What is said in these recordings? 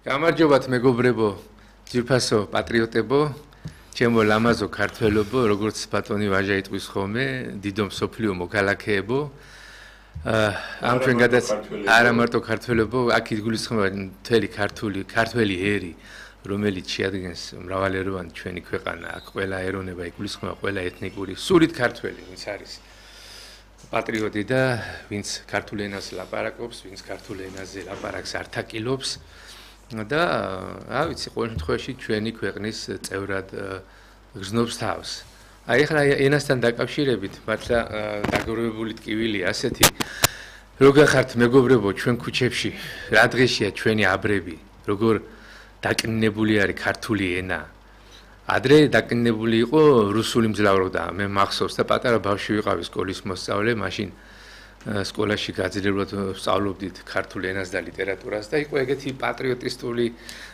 გამარჯობათ მეგობრებო, ძვირფასო პატრიოტებო, ჩემო ლამაზო ქართველებო, როგორც ბატონი ვაჟა იტყვის ხოლმე, დიდო მსოფლიო მოქალაქეებო. ამ ჩვენ არა მარტო ქართველებო, აქ იგულისხმება მთელი ქართველი ერი, რომელიც შეადგენს მრავალეროვანი ჩვენი ქვეყანა, აქ ყველა ეროვნება იგულისხმება, ყველა ეთნიკური, სულით ქართველი, ვინც არის პატრიოტი და ვინც ქართულ ენას ლაპარაკობს, ვინც ქართულ ენაზე ლაპარაკს ართაკილობს. და რა ვიცი, ყოველ შემთხვევაში ჩვენი ქვეყნის წევრად გრძნობს თავს. აი ახლა ენასთან დაკავშირებით მართლა დაგროვებული ტკივილია ასეთი, როგორ ხართ მეგობრებო ჩვენ ქუჩებში, რა დღეშია ჩვენი აბრები, როგორ დაკნინებული არის ქართული ენა. ადრე დაკნინებული იყო რუსული მძლავრობა, მე მახსოვს და პატარა ბავშვი ვიყავი სკოლის მოსწავლე, მაშინ სკოლაში გაძლიერებულად ვსწავლობდით ქართულ ენას და ლიტერატურას და იყო ეგეთი პატრიოტისტული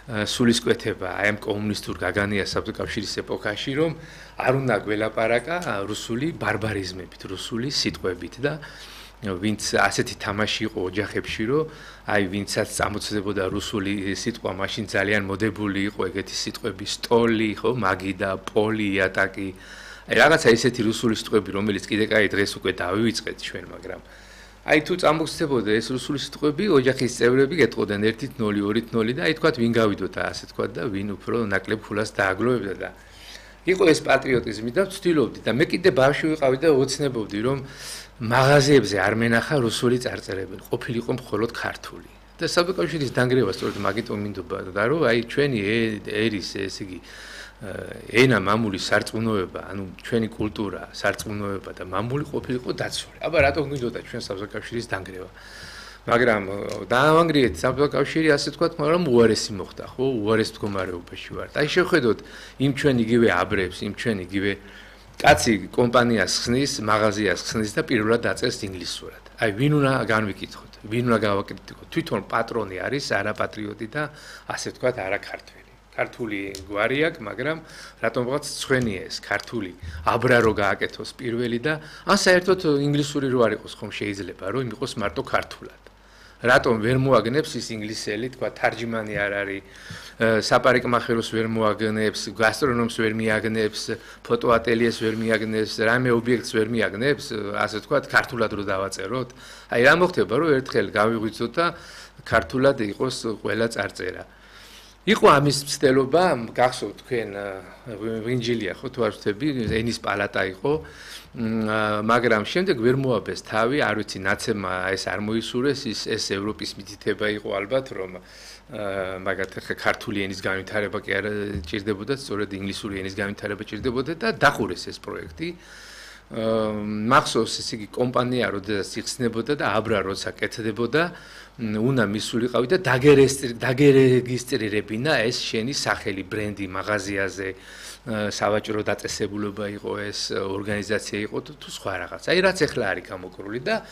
სულისკვეთება აი ამ კომუნისტურ გაგანია საბჭოთა ეპოქაში, რომ არ უნდა გველაპარაკა რუსული ბარბარიზმებით, რუსული სიტყვებით და ვინც ასეთი თამაში იყო ოჯახებში, რომ აი ვინცაც წამოწდებოდა რუსული სიტყვა, მაშინ ძალიან მოდებული იყო ეგეთი სიტყვები, სტოლი, ხო, მაგიდა, პოლი, ატაკი. აი რაღაცა ესეთი რუსული სიტყვები, რომელიც კიდე კაი დღეს უკვე დავივიწყეთ ჩვენ, მაგრამ აი თუ წამოხსნებოდა ეს რუსული სიტყვები, ოჯახის წევრები გეტყოდნენ 1-0, 2-0 და აი თქვათ ვინ გავიდოთ ასე თქვათ და ვინ უფრო ნაკლებ ფულას დააგლოვებდა და იყო ეს პატრიოტიზმი და ვცდილობდი და მე კიდე ბავშვი ვიყავი და ოცნებობდი რომ მაღაზიებზე არ მენახა რუსული წარწერები, ყოფილიყო მხოლოდ ქართული. და საბჭოთა დანგრევა სწორედ მაგიტომ მინდობა და რომ აი ჩვენი ერის ესე იგი ენა მამული სარწმუნოება, ანუ ჩვენი კულტურა, სარწმუნოება და მამული ყოფილიყო დაცული. აბა რატომ გვინდოდა ჩვენ საბჭოთა დანგრევა? მაგრამ დაავანგრიეთ საბჭოთა ასე თქვათ, მაგრამ უარესი მოხდა, ხო? უარეს მდგომარეობაში ვართ. აი შევხედოთ იმ ჩვენ იგივე აბრებს, იმ ჩვენ იგივე კაცი კომპანიას ხსნის, მაღაზიას ხსნის და პირველად დაწერს ინგლისურად. აი ვინ უნდა განვიკითხოთ, ვინ უნდა გავაკრიტიკოთ? თვითონ პატრონი არის არა პატრიოტი და ასე თქვათ არა ქართველი. ქართული გვარი აქვს, მაგრამ რატომ ვიღაც ცხვენია ეს ქართული აბრა რო გააკეთოს პირველი და ან საერთოდ ინგლისური რო არ იყოს ხომ შეიძლება რომ იყოს მარტო ქართულად. რატომ ვერ მოაგნებს ის ინგლისელი, თქვა თარჯიმანი არ არის, საპარიკმახეროს ვერ მოაგნებს, გასტრონომს ვერ მიაგნებს, ფოტოატელიეს ვერ მიაგნებს, რამე ობიექტს ვერ მიაგნებს, ასე თქვა ქართულად რო დავაწეროთ. აი რა მოხდება რომ ერთხელ გავიღვიძოთ და ქართულად იყოს ყველა წარწერა. იყო ამის მცდელობა, გახსოვთ თქვენ ვინჯილია ხო თუ არ ვთქვი, ენის პალატა იყო, მაგრამ შემდეგ ვერ მოაბეს თავი, არ ვიცი ნაცემმა ეს არ მოისურვეს, ეს ევროპის მითითება იყო ალბათ, რომ მაგათ ქართული ენის განვითარება კი არ ჭირდებოდა, სწორედ ინგლისური ენის განვითარება ჭირდებოდა და დახურეს ეს პროექტი. მახსოვს ესე იგი კომპანია როდესაც იხსნებოდა და აბრა როცა კეთდებოდა, უნდა მისულიყავი და დაგერეგისტრირებინა ეს შენი სახელი, ბრენდი მაღაზიაზე, სავაჭრო დაწესებულება იყო ეს, ორგანიზაცია იყო თუ სხვა რაღაც. აი რაც ახლა არის გამოკრული და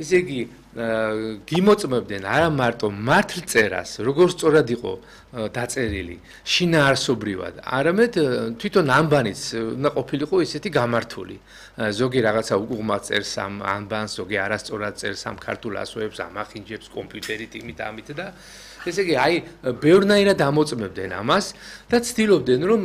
ესე იგი გიმოწმებდნენ არა მარტო მართლწერას, როგორ სწორად იყო დაწერილი, შინაარსობრივად, არამედ თვითონ ამბანიც უნდა ყოფილიყო ისეთი გამართული. ზოგი რაღაცა უყუღმა წერს ამ ამბანს, ზოგი არასწორად წერს ამ ქართულ ასოებს, ამახინჯებს კომპიუტერით იმით ამით და ესე იგი აი ბევრნაირად ამოწმებდნენ ამას და ცდილობდნენ რომ